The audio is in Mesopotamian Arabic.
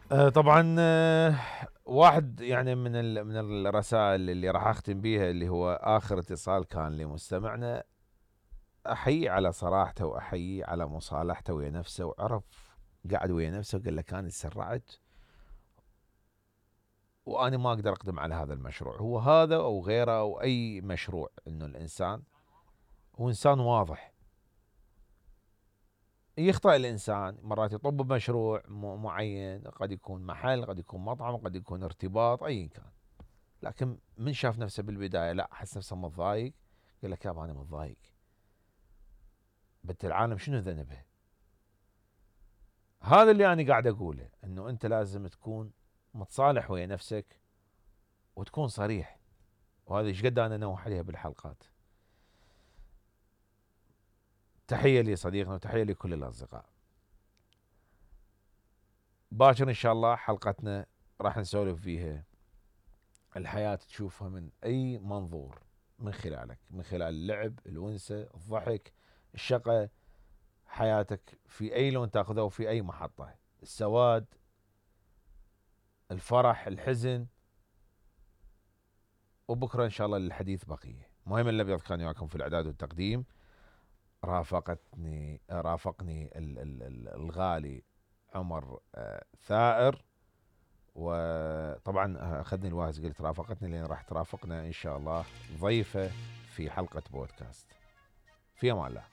طبعا واحد يعني من الرسائل اللي راح اختم بيها، اللي هو اخر اتصال كان لمستمعنا، احيي على صراحته واحيي على مصالحته ويا نفسه، وعرف قاعد ويا نفسه وقال له كان تسرعت وانا ما اقدر اقدم على هذا المشروع. هو هذا او غيره او اي مشروع، انه الانسان هو انسان واضح. يخطئ الانسان مرات، يطب بمشروع معين، قد يكون محل، قد يكون مطعم، قد يكون ارتباط، ايا كان. لكن من شاف نفسه بالبدايه لا حس نفسه متضايق، قال لك يابا انا متضايق، بنت العالم شنو ذنبها؟ هذا اللي انا قاعد اقوله، انه انت لازم تكون متصالح ويا نفسك وتكون صريح. وهذا ايش قد انا انوه عليها بالحلقات. تحيه لصديقنا وتحيه لكل الاصدقاء. باكر ان شاء الله حلقتنا راح نسولف فيها الحياه تشوفها من اي منظور، من خلالك، من خلال اللعب، الونسه، الضحك، الشقه، حياتك في اي لون تاخذه وفي اي محطه، السواد، الفرح، الحزن. وبكره ان شاء الله للحديث بقيه. مهم الابيض كان وياكم في الاعداد والتقديم. رافقني الغالي عمر ثائر. وطبعا اخذني الواهز، قلت رافقتني لان راح ترافقنا ان شاء الله ضيفه في حلقه بودكاست. في امان الله.